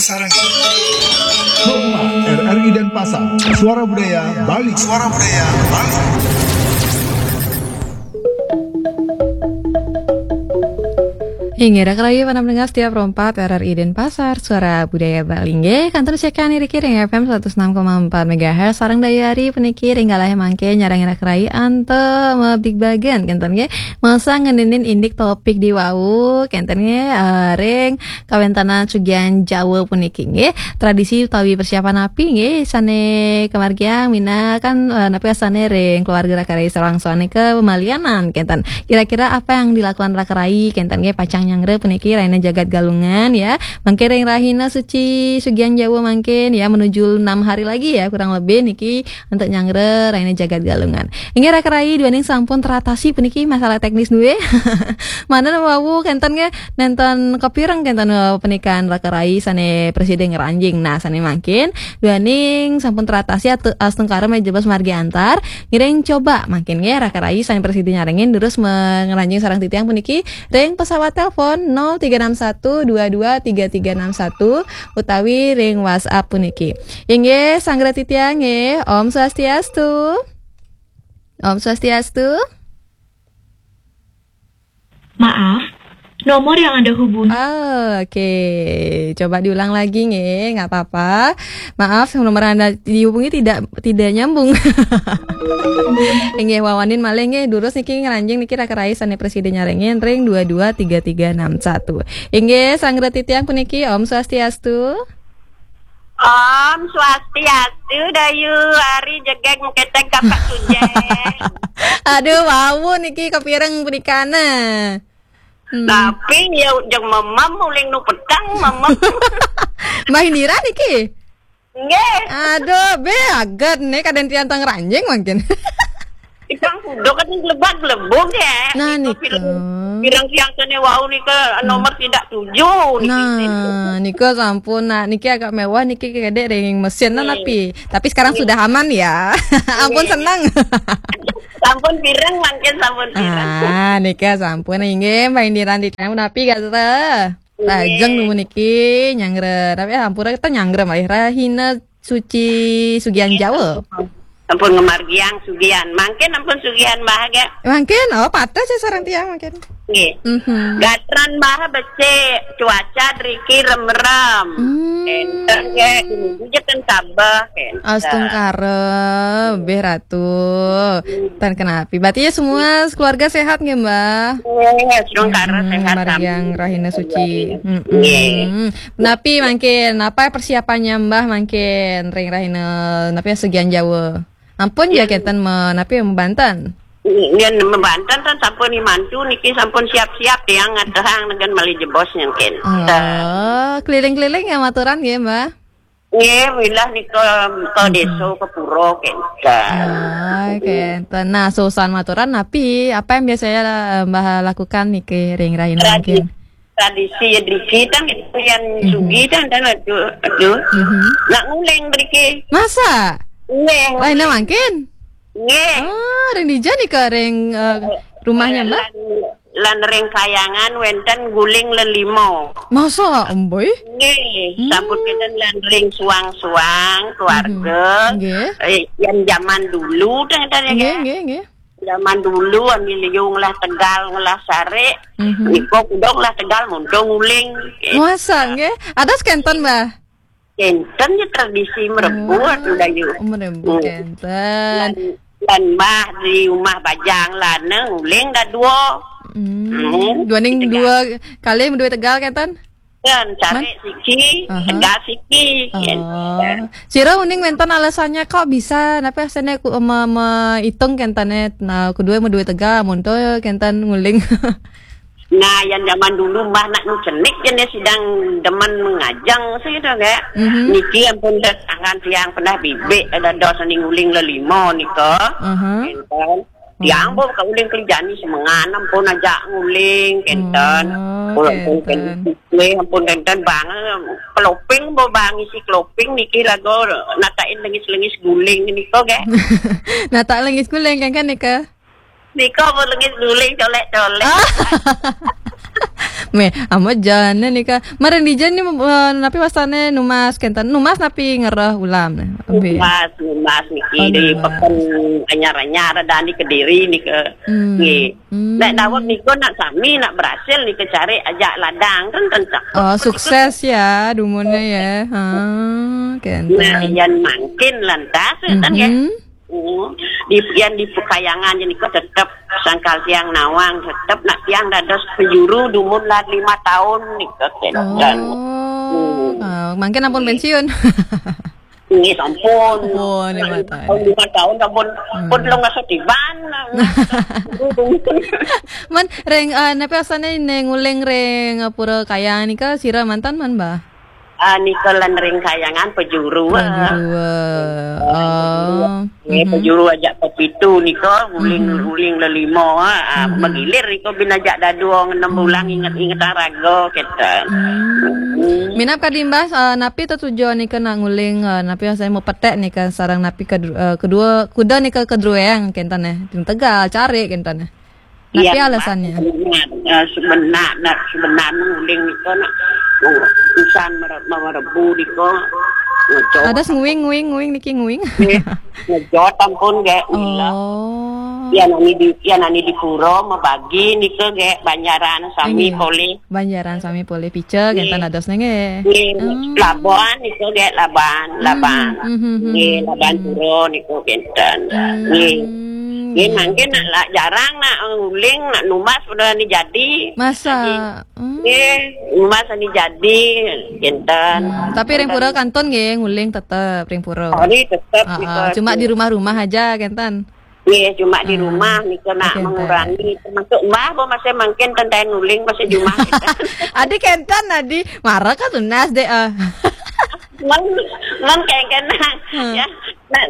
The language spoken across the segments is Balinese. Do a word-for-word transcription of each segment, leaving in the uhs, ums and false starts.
Sarang. Rumah R R I Denpasar, Suara Budaya Bali. Suara Budaya Bali. Inggih, raka rahayu para pendengar setia Pro empat R R I Denpasar, Suara Budaya Bali. Inggih, kantun siaran niki ring F M seratus enam koma empat megahertz, sareng dayuh puniki ring galah mangke nyarengin raka rahayu antuk mabligbagan, kenten nggih. Masa ngeninin indik topik di wau, kenten nggih, eh, ring kawéntenan Sugian Jawa puniki nggih. Tradisi utawi persiapan napi nggih sané kamargiang minangka, eh, napi wastané ring keluarga raka rahayu sareng sami nika malianan kenten. Kira-kira apa yang dilakukan raka rahayu kenten nggih pacang nyanggra puniki rahina Jagat Galungan ya. Mangkin ring rahina suci Sugian Jawa mangkin ya menuju enam hari lagi ya kurang lebih niki untuk nyanggra rahina Jagat Galungan. Inggih raka rahayu duaning sampun teratasi puniki masalah teknis duwe. Manten wau kenten nggih, nénten kapireng kenten, eh, pernikahan raka rahayu sané prasida ngranjing. Nah, sané mangkin duaning sampun teratasi atu-, astungkara malih jebos margi antar. Ngiring coba mangkin nggih raka rahayu sané prasida nyarengin durus me-, ngranjing sareng titiang puniki ring pesawat telepon nol tiga enam satu dua dua tiga tiga enam satu utawi ring WhatsApp puniki. Inggih, sanggra titiang nggih. Om Swastiastu. Om Swastiastu. Maaf, nomor yang Anda hubungi. Oh, oke. Coba diulang lagi nggih, nggak apa-apa. Maaf, nomor Anda dihubungi tidak tidak nyambung. Inggih, wawanin malih nggih, durus niki ngranjing niki raka rahayu sané prasida nyarengin ring dua dua tiga tiga enam satu. Inggih, sanggra titiang puniki, Om Swastiastu. Om Swastiastu, Dayu, Ari Jegeg Muketeg Kapak Sujeng. Aduh, wau niki kapireng punikana. Hmm. Tapi ya jeng memem uling nu petang, memem. Mbah Indira niki? Nggih. Aduh, bé aget nih kadén tiang teng ranjing mangkin. Ikang kuda kan lebak lebung ya. Nah, nika nika. Pirang, pirang tiang kene wau nika nomor tidak tujuh niki. Nah, nika sampun. Nah, niki agak mewah niki kedek ring mesin nah, nggih, tapi tapi sekarang, nggih, sudah aman ya. Ampun, nggih, senang. Sampun pirang mangkin sampun pirang. Ah, nika sampun inggih Mbah Indira di napi gatra. Nggih. Lajeng niki nyanggra, tapi ampura kita nyanggra malih rahina suci Sugian Jawa. Ampun ngamargiang Sugian. Mangkin ampun Sugian Mbah nggih. Mangkin, oh, patut saya sareng tiang mangkin. Nggih. Mhm. Gatran Mbah becik, cuaca driki remrem. Hmm. Enten nggih, dumugi jeken sabeh, enten. Astungkara, nggih, Ratu. Hmm. Tan kenapi. Berarti ya semua keluarga sehat nggih, Mbah? Nggih, astungkara. Hmm, sehat margiang sami. Rahina suci. Nggih. Mm-mm. Napi mangkin, apa persiapannya Mbah mangkin ring rahina napi Sugian Jawa? Ampun ya, ya, kenten me-, napi membanten. Yen membanten kan sampun mantu niki sampun siap-siap tiang ngadehang dengan malih jebos nyengken. Oh, keliling-keliling ya maturan nggih, Mbah? Nggih, wilah nika ke, mm-mm, desa, ke pura kenten. Ah, kenten. Nah, susan maturan napi, apa yang biasanya, eh, Mbah lakukan niki ring rahina mangkin? Tradisi ya driki tang, yang, mhm, sugi tang, tang, aduh, aduh. Mhm. Nak nguling driki. Masa? Nggih. Rahina mangkin? Nggih. Oh, ring dija nika ring, eh, rumahnya, Mbah? Lan, lan ring kayangan wenten guling lelima. Masa, Mbah? Nggih, hmm, sampun kenten lan ring suang-suang keluarga. Mhm. Nggih. Eh, yang zaman dulu tang, tang ya, nggih, nggih, nggih. Zaman dulu, ami liu ngelah tegal, ngelah sare, mhm, nika kuda ngelah tegal, muntung nguling. Masa, nggih? Adas kenten, Mbah? Kenten ya tradisi merebut, oh, udah yuk. Merebut, hmm, kenten. Lan, lan Mbah di rumah bajang lana nguling dadua. Hmm. Hmm. Duaning tegal. Dua kali dua tegal kenten? Kan, cari, Mas? Siki, aha, tegal siki, oh, kan. Sira uning wenten alasannya kok bisa, napi asané ku, me-, me-, itung kentene, nah, kedua mau dua tegal, muntul kenten nguling. Nah, yang zaman dulu Mbah nak nu cenik jenis sidang demen mengajang sih itu, kayak. Mhm. Niki ampun dah tangan tiang pernah bibik, ada dos ning nguling lelima nika. Aha. Kenten. Tiang, hmm, pun kauling kerjani semengan, ampun aja nguling, kenten. Oh, pun, ampun, kenten. Kenten. Nggih, ampun kenten bang, keloping, bo bang isi keloping niki lagu natain lengis-lengis guling nika, nggih. Nata lengis guling, kan, kan, nika? Nika pun lengis guling, colek-colek. Ah. Meh, amat jane nika. Marang dija ni, eh, napi wastane numbas kenten. Numbas napi ngereh ulam ne. Abi. Numbas, numbas niki. Oh, di numbas. Peken anyar-anyar ada ni Kediri nika. Hmm. Nggih. Hmm. Nek daweg nika nak sami, nak berhasil nika cari ajak ladang kan, kan cakep. Oh, sukses ya dumunnya ya. Ha, kenten. Nah, yan mangkin lantas kan ya. Mhm. Hmm. Di, yan di Pekayangan je nika tetep sangkal tiang nawang, tetep nak tiang dados pejuru dumun lah lima tahun nika kenten. Oh. Hmm. Ah, mangkin ampun pensiun. Nggih, sampun. Oh, lima tahun. Lima tahun, lima tahun sampun, hmm, pun lo ngasuh tiban. Man, ring, eh, napi asane ne nguling ring, eh, Pura Kayang nika sira mantan man, Mbah? Ah, nika lan ring Kayangan pejuru, ah. Pejuru, ah. Oh. Nggih, mhm, pejuru ajak pepitu nika, uling, mhm, uling lelima, ah, mhm, magilir nika bin ajak dadua ngenem bulang, hmm, inget-inget raga kita. Hmm. Hmm. Minab kadi Mbah, eh, napi tetujuan nika nak nguling, eh, napi saya mau petek nika sarang napi kedua, eh, kedua kuda nika kedrueng kenten eh. Ting Tegal cari kenten eh. Tapi iya, alasannya? Sebenar, eh, sebenar, nah, sebenar nguling nika nak, oh, pisan mere-, merebu nika, ngejot. Ada nguing, nguing, nguing niki nguing. Nggih, ngejot ampun, nggih, ulah. Oh. Ya, nani di, ya, nani di pura mebagi nika, nggih, banjaran sami, nggih, polih. Banjaran sami polih pica, nggih, kenten adosne, nggih. Nggih, hmm, laban nika, nggih, laban, hmm, laban. Hmm, hmm, hmm, nggih, hmm, laban, hmm, pura nika kenten. Hmm. Nggih. Nggih, iya, mangkin betul. Nak lah jarang nak nguling, nak numbas pada ni jadi. Masa? Jadi, hmm. Nggih, numbas ni jadi, kenten. Hmm, tapi ring pura kantun nggih, nguling tetep ring pura. Oh, ni tetep. Ah, ah, nika cuma di rumah-rumah aja, kenten. Nggih, cuma di, ah, rumah nika nak, kenten, mengurangi. Termasuk Mbah, apa masih mangkin tenten nguling, masih di rumah, kenten. Adi kenten, adi. Marah kan tunas deh, ah. Man, man kenten, hmm, ya. Nah,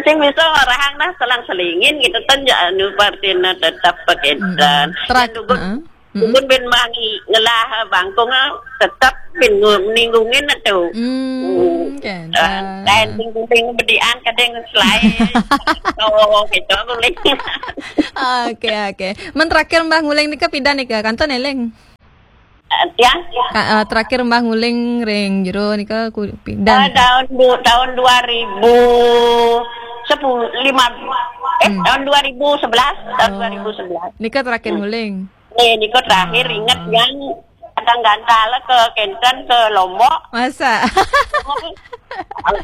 sing bisa ngarahang nah selang selingin gitu kan, ya, anu, partina tetap paketan. Mm-mm. Terak, heeh. Dugun, mm-mm, dugun bin mangi ngelah bangkung, ah, tetap bin ngu-, ningungin tu. Hmm, hmm, kenten. Ah, lain ting-ting bedian kadang selain. Oh, gitu, nguling. Oke, oke. Men terakhir Mbah nguling nika pida nika, kantun eling? Eh, tiang? Ka-, eh, terakhir Mbah nguling ring jero nika ku-, pidan? Eh, tahun du-, tahun dua ribu sepuluh, lima, eh, hmm, tahun dua ribu sebelas, tahun, oh, dua ribu sebelas. Nika terakhir, hmm, nguling? Eh, nika terakhir, ah, inget yang kadang gantal ke kenten ke Lombok. Masa?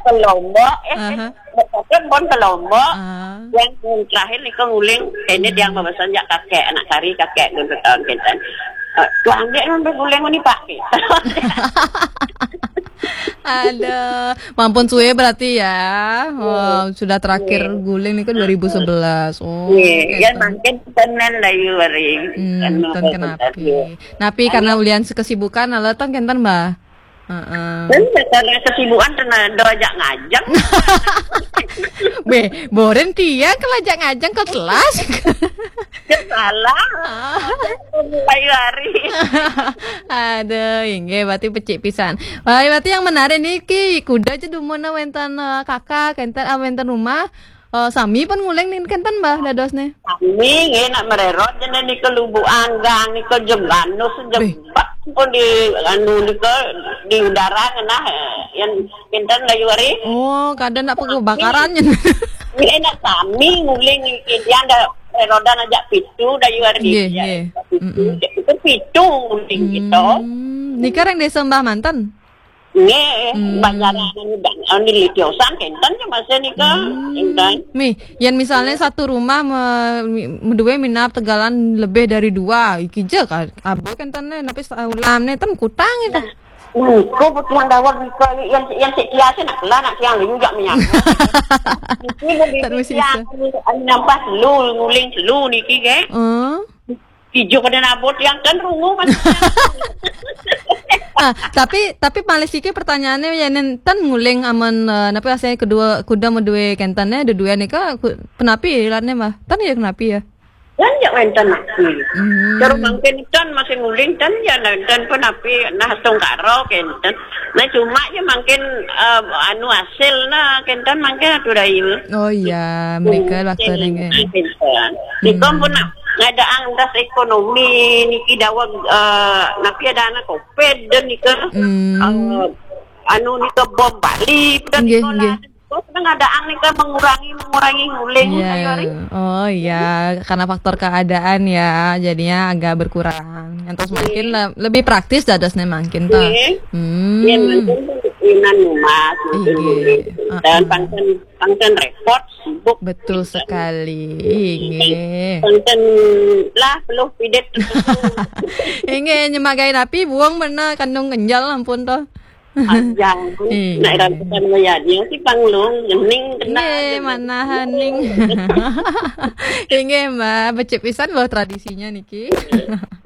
Ke Lombok, eh, aha. Betul pun ke Lombok. Ah. Yang terakhir nika nguling, ini, hmm, yang pembahasan jak kakek, anak kari kakek dulu tahun kenten. Eh, tuan dia nang berguling ni, Pak. Aduh, mampun suwe berarti ya. Oh, sudah terakhir, iya, guling nih kan dua ribu sebelas. Oh, iya, ya, kenten. Mungkin tenan lah, yu, hari. Hmm, anu, kenten kenapi. Iya. Tapi karena ulian kesibukan, ala tong kenten, Mbah. Heeh. Dan karena kesibukan, tenan do ajak ngajeng. Beh, boren tiang kalau ajak ngajeng ke kelas. Salah. Ah. Mulai hari. Aduh, inggih, berarti pecik pisan. Wah, berarti yang menarik niki, kuda aja dumuna wenten, eh, kakak, kenten, ah, wenten rumah. Eh, sami pun nguling nih, kenten, Mbah, dadosne. Sami, nggih, nak mererot, jene nika lubu anggang, nika jembanus, beh, jembat pun di, anu, nika di udara ngenah, eh, yang kenten layu hari. Oh, kadang nak perlu bakaran. Nggih, nak sami nguling niki, dia ada rodan aja pitu, layu hari. Nggih, dia nggih. Pitu, mm-mm, itu pitu nguling gitu. Hmm, nika ring desa Mbah manten? Nggih, hmm, banjaran anu dan, anu litiosan kenten ya masih nika, hmm, kenten. Mi, yen misalnya satu rumah me-, mi-, duwe minab tegalan lebih dari dua, iki je ka-, abu kenten ne, tapi sa-, ulam ne ten kutang itu. Nah, niku putihan daweg nika, yang, yang sik kiasin nak lah, nak siang liu jak menyambut. Niki lebih tak mesti tiang, bisa. Anu nampak selu, nguling selu niki, nggih. Hmm. Ijo kada nabut yang kan rungu, Mas. Ah, tapi, tapi malih siki pertanyaannya, ya, nen ten nguling amun, eh, napa asale kedua kuda meduwe kenten, eh, dedue nika ku-, penapi ilatne, Mbah? Ten ya kenapi ya? Kan ya wenten nasi. Hmm. Terus mangkin ten masih nguling ten ya, ten penapi nah tungkara kenten. Nah, cuma ya mangkin, eh, anu hasil nah kenten mangkin atuh dayu. Oh iya, mereka waktu nengke. Kenten. Nika pun nak Ngadaang das ekonomi niki daweg, eh, napi ada anak covid dan nika, hmm, eh, anu nika bom Bali dan nggih, nika nggih. Terus ngadaang nika mengurangi, mengurangi nguling. Iya. Oh iya, karena faktor keadaan ya, jadinya agak berkurang. Yang terus mungkin le- lebih praktis dados nih mungkin toh. Nggih. Hmm. Iya, mungkin inan rumah, mungkin. Nggih. Nguling. Dan pangken, pangken repot, sibuk. Betul sekali. Nggih. Pangken lah, peluh pidet. Nggih, nyemagai napi buang mana kandung kenjal ampun toh. Panjang. Nggih. Nak rambutan maya dia si panglung, ngening kena. Nggih, mana hening. Nggih, Mbak, becik pisan loh tradisinya niki.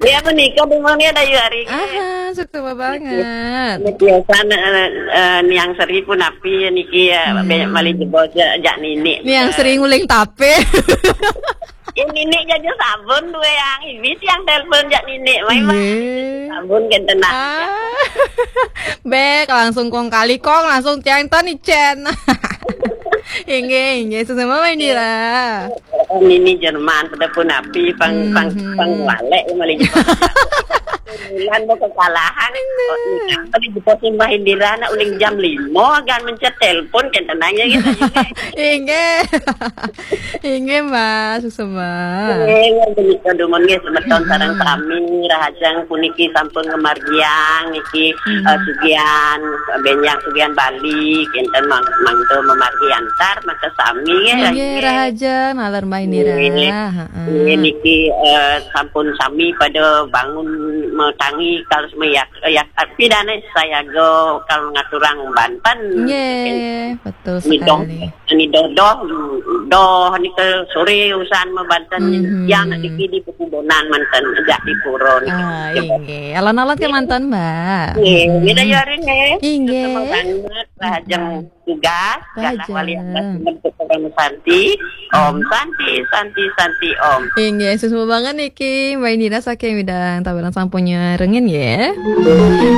Dia apa nika di mana ada hari. Aha, suka banget. Biasa, eh, eh, niang seri pun api niki ya, hmm, banyak malih jebos jak, jak nini. Niang seri nguling tape. Ini nih jaja sabun dua yang ini yang telepon jak nini. Mai, mai. Nggih. Sabun kan tenang. Ah. Bek langsung kong kali kong langsung tiang ton icen. Inggih, inggih, sesama main dira. Nini Jerman pada pun api pang, pang, mhm, pang walek ya, malih Jepang. Bulan mau kekalahan. Aduh. Oh, iya. Tadi Jepang sembah Indira nak uling jam lima kan mencet telepon kan tenangnya gitu. Inggih. Inggih, Mbak, suksma. Inggih, menika dumun nggih semeton sareng sami, rahajeng puniki sampun ngamargiang niki, hmm, eh, sugihan, benjang sugihan Bali, kinten mang-, mangda mamargi antar maka sami nggih. Inggih, rahajeng, naler Mbak Indira. Nggih. Heeh. Nggih, niki, eh, sampun sami pada bangun metangi kados meyak, yak pidane sayaga kal ngaturang banten. Nggih, betul sekali. Ini doh, doh, nika sore usan mabanten, mhm, yang niki di pekubunan manten, jak di pura niki. Ah, inggih. Alon-alon ke manten, Mbak. Nggih, hmm, kita yarin nggih. Inggih. Sama banget, rahajeng tugas, galah wali atas bentuk orang Santi. Om Santi, Santi, Santi, Om. Inggih, suksma banget niki, Mbak Indira saking Widang Tabanan sampun nyarengin nggih.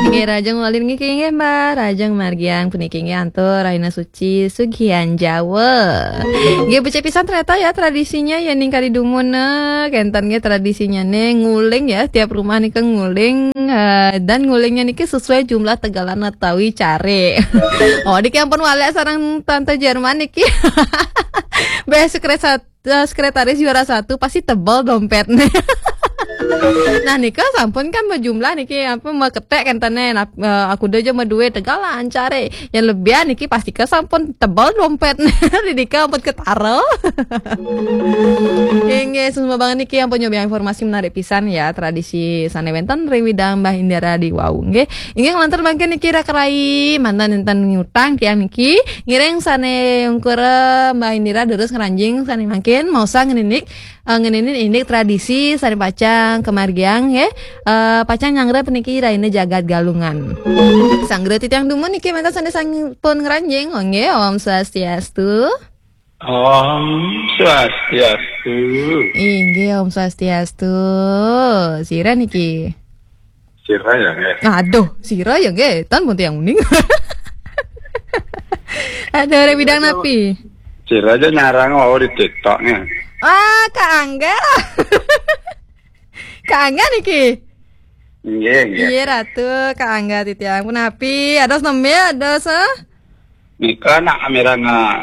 Inggih, rahajeng wali niki nggih, Mbak, rahajeng margiang puniki nggih antuk Rahina Suci Sugihan Jawa. Nggih, becik pisan ternyata ya tradisinya ya ning kari dumun, eh, kenten nggih tradisinya nih nguling ya, tiap rumah nika nguling, eh, dan ngulingnya niki sesuai jumlah tegalan utawi care. Oh, niki ampun walek sareng Tante Jerman niki. Beh, sekret sat-, eh, sekretaris juara satu pasti tebal dompetnya. Nah, nika sampun kan berjumlah niki apa meketek kentene. Nah, eh, aku udah aja duit tegal lancar eh. Yang lebih niki pasti ke sampun tebal dompetnya. Didika ampun ketara. Inggih, suksma banget niki ampun nyoba informasi menarik pisan ya tradisi sane wenten ring widang Mbah Indra di wau nggih. Inggih, lantur mangkin niki rak rai mantan enten ngutang tiang niki. Ngiring sane ungkur Mbah Indra durus ngranjing sane mangkin mau sang ngeninik, eh, ngeninin indik tradisi sane pacang kemargiang nggih. Eh, pacang nyanggra peniki raine jagat Galungan. Sanggra titiang dumun niki mantan sane sampun ngranjing nggih. Om Swastiastu. Om Swastiastu. Inggih, Om Swastiastu. Sira niki? Sira ya nggih. Aduh, sira ya nggih. Tan pun tiang uning. Aduh, ring bidang napi? Sira aja nyarang wau di TikTok nggih. Ah, Kak Angga. Kak Angga niki? Nggih, nggih. Iya, Ratu, Kak Angga titiang. Punapi, ada nembe, ada se? Nika nak amirang, eh,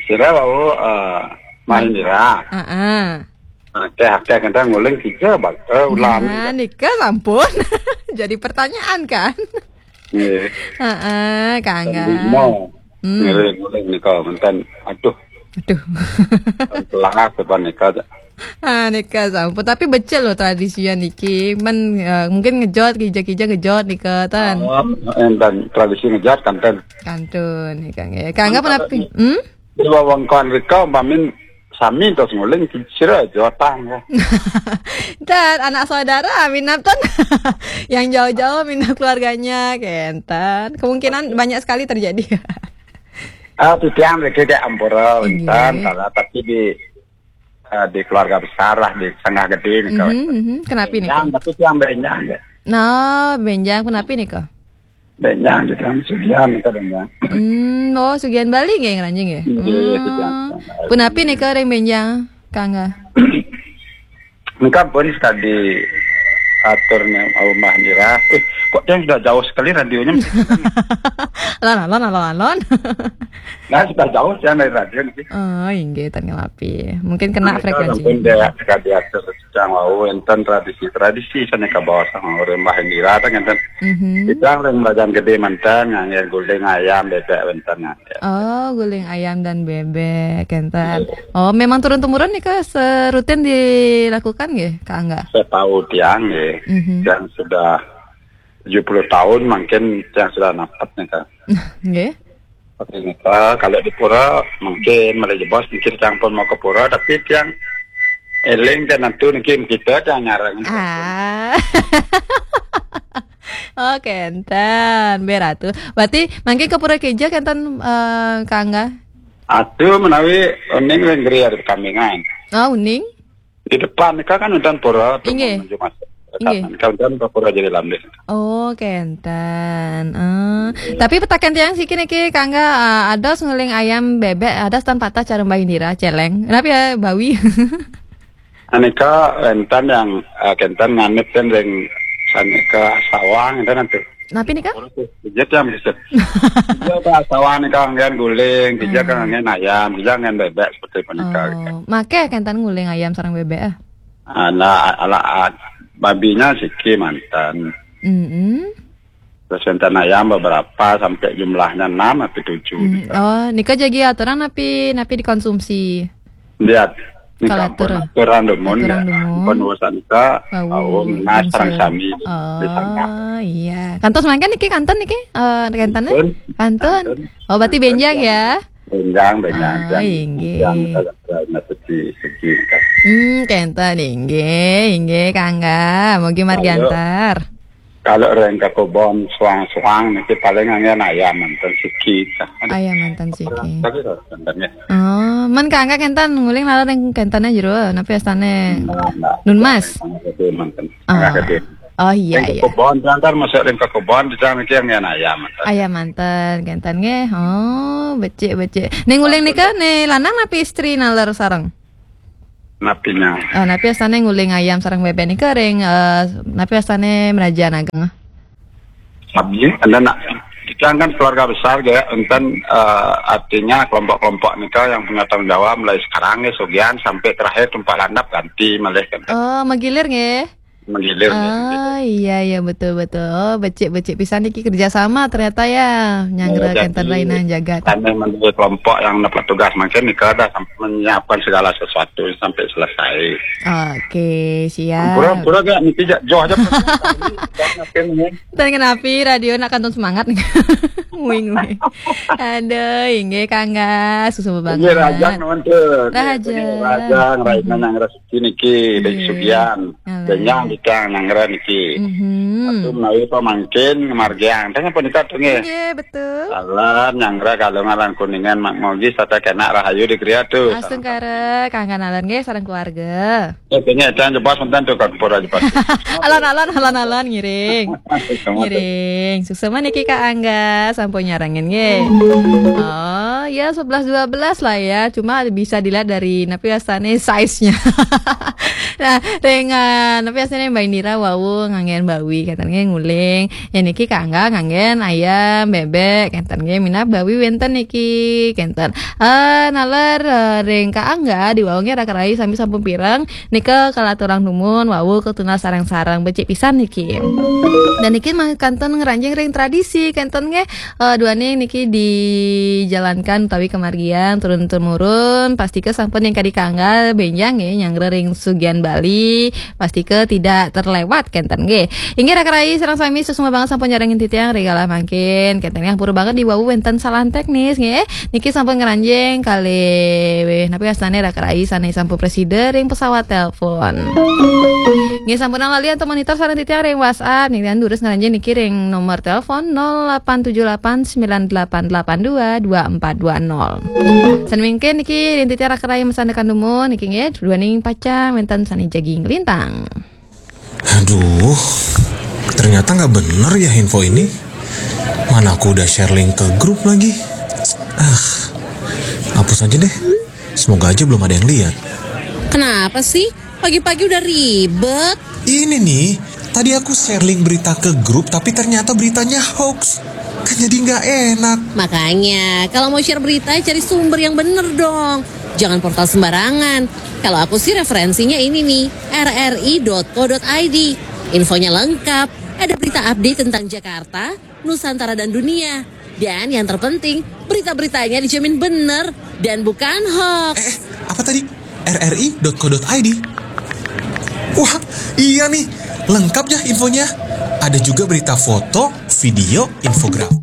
sira wau, eh, Mbah Indra. Heeh. Akeh-akeh kita nguling tiga bak, eh, ulam. Nah, nika sampun. Jadi pertanyaan kan? Nggih. Heeh, Kak Angga. Lima. Hmm. Ngiring nguling nika menten. Aduh. Aduh. Pelangak depan nika. Ah, nika sampun. Tapi becik loh tradisinya niki. Men, eh, mungkin ngejot, kija-kija ngejot nika, tan. Oh, enten tradisi ngejot kanten. Kantun, nika nggih. Kangga. Mantap, menapi? Hmm? Di wewengkon rika, umpamin sami terus nguling, sira jotang ya. Dan anak saudara, minat tan. Yang jauh-jauh, minat keluarganya, kenten. Kemungkinan banyak sekali terjadi. Ah, titiang riki dek ampura, iya, wenten, kalau tapi di eh, di keluarga besar lah, di Sangah Gede nih, mhm, mhm. Kenapi nih, benjang, Kak? Tapi tiang benjang ya. Nah, benjang, kenapi nih, Kak? Benjang, di dalam sugihan kita benjang. Hmm, oh, sugihan Bali nggih ngranjing ya? Iya, hmm. Sugihan Bali. Punapi nih, Kak, ring benjang, Kangga? Engkau pun sekali atur ni rumah Nira. Eh, kok yang sudah jauh sekali radionya? Alon, alon, alon, alon. Nah, sudah jauh yang dari radio ni. Oh, inggih, tan ngelapi. Mungkin kena Mereka frekuensi. Pun dia sekali atur yang wau enten tradisi-tradisi sana ke bawah sama rumah Nira ada kan. Mhm. Kita orang belajar gede mantan ngangge guling ayam bebek wenten ngangge. Oh, guling ayam dan bebek, kenten. Oh, memang turun temurun nih ke serutin dilakukan nggih, Kak Angga? Saya tahu tiang ya, Mhm. yang sudah tujuh puluh tahun mungkin yang sudah napat nih kan. Nggih. Oke, nih, Kak, kalau di pura mungkin mulai jebos mungkin tiang pun mau ke pura tapi tiang eling dan nanti mungkin kita tiang nyarang. Ah. Oh, kenten, beratu. Berarti mangke ke pura keja kenten, eh, Kak Angga? Atuh menawi uning ring gria di kambingan. Oh, uning? Di depan nika kan udan pura tuh Inggih. Menuju masuk. Inggih. Nika udan pura jadi lambe. Oh, kenten. Eh, tapi petaken tiang siki niki Kak Angga, eh, ados nguling ayam bebek, ados tan patah cara Mbah Indira celeng. Kenapa ya Bawi? Anika enten yang eh, kenten nganut kan ring sanika sawang enten nanti. Napi nika? Pijat yang bisa. Iya, Pak, sawang nika ngen guling, kita kan ngen ayam, kita ngen bebek seperti punika. Oh, make kenten nguling ayam sareng bebek ah. Ana ala babinya siki mantan. Mm-mm. Terus enten ayam beberapa sampai jumlahnya enam atau tujuh. Hmm. Oh, nika jagi aturan napi napi dikonsumsi. Lihat. Ini Kalau kampung aturan. Aturan dumun ya. Aturan dumun. Penulisan ka Wau, au mas langsung. sareng sami di sana. Oh, iya. Kantos mangke niki kanten niki? Eh, kanten? Kanten. Kanten. Oh, berarti benjang ya. Benjang, benjang. Ah, inggih. Yang ada segi segi. Hmm, kenten inggih, inggih Kak Angga. Mugi margi Halo. Antar. Kalau ring ke kebon suang-suang niki paling angin ayam mantan siki. Ayam mantan siki. Tapi loh, mantannya. Oh, men Kak Angga kenten nguling lalu ring kentene jero, napi astane? Nah, nah. Nun Mas. Mantan. Ah. Mantan. Oh iya Ring iya. Kebon, jangan masuk ring ke kebon, jangan niki angin ayam mantan. Ayam mantan, kenten nggih. Oh, becik becik. Ning nguling nika ne lanang napi istri naler sareng? Napinya. Ah, napi astane nguling ayam sareng bebek nika ring eh, napi astane meraja ageng? Abdi, anda nak kita kan keluarga besar ya, enten eh, artinya kelompok-kelompok nika yang punya tanggung jawab mulai sekarang ya, sugihan sampai terakhir tempat landap ganti malih kan. Oh, menggilir nggih. Menggilir. Ah, iya iya betul betul. Oh, becik-becik pisan niki kerjasama ternyata ya. Nyanggra Ya, kenten jadi, lainnya jagat. Kami menjadi kelompok yang dapat tugas makin nika dah sampai menyiapkan segala sesuatu sampai selesai. Oke, siap. Pura-pura gak mesti jak joh aja. Makin ini. Dan kenapi radio nak kantun semangat. Wing wing. Aduh, inggih Kak Angga, susu Ini banget. Rajang nuwun tuh. Rajang. Rajang, Rajang nang rezeki niki dari Iya. Sugian. Alah. Denyang dikang nang niki. Mhm. Itu menawi pamangkin ngemargiang. Tanya punika tuh nggih. Nggih, betul. Salam nyanggra kalungan lan kuningan mak mogi sata kena rahayu di griya tuh. Astungkara, Kak Angga Nalar nggih sareng keluarga. Eh, kayaknya jangan jebas mantan tuh kan pura jebas. Alon-alon, alon-alon ngiring. Ngiring. Suksema niki Kak Angga sampun nyarengin nggih. Oh, ya sebelas dua belas lah ya. Cuma bisa dilihat dari napi astane size-nya. Nah, ring napi astane Mbak Indira wau nganggen bawi kenten nggih nguling. Ya niki Kak Angga nganggen ayam, bebek kenten nggih minab bawi wenten niki kenten. Eh nalar eh, ring Kak Angga di wau nggih raka rai sami sampun pireng. Nika kalaturang dumun wau ketunal sareng-sareng becik pisan niki. Dan niki mangkantun ngranjing ring tradisi kenten nggih eh, duaning niki dijalankan utawi kemargian turun temurun pastika sampun yang kadi Kak Angga benjang nggih nyanggra ring sugian Bali pastika tidak terlewat kenten nggih. Inggih raka rai sareng sami suksma banget sampun nyarengin titiang ring galah mangkin kenten nggih ampura banget di wau wenten salah teknis nggih. Niki sampun ngranjing kalih napi astane raka rai sane sampun presida ring pesawat telepon. Nggih sampun lali antuk monitor sareng titiang ring WhatsApp niki durus ngranjing niki ring nomor telepon nol delapan tujuh delapan sembilan delapan delapan dua dua empat dua nol. Sane mangkin niki ring titiang raka rai masandekan dumun niki nggih duaning pacang wenten sane jagi nglintang. Aduh, ternyata nggak bener ya info ini. Mana aku udah share link ke grup lagi. Ah, hapus aja deh. Semoga aja belum ada yang lihat. Kenapa sih? Pagi-pagi udah ribet. Ini nih, tadi aku share link berita ke grup tapi ternyata beritanya hoax. Kan jadi nggak enak. Makanya, kalau mau share berita, cari sumber yang bener dong. Jangan portal sembarangan. Kalau aku sih referensinya ini nih, rri.co.id. Infonya lengkap, ada berita update tentang Jakarta, Nusantara dan dunia. Dan yang terpenting, berita-beritanya dijamin bener dan bukan hoax. Eh, apa tadi? rri.co.id. Wah, iya nih, lengkap ya infonya. Ada juga berita foto, video, infografis.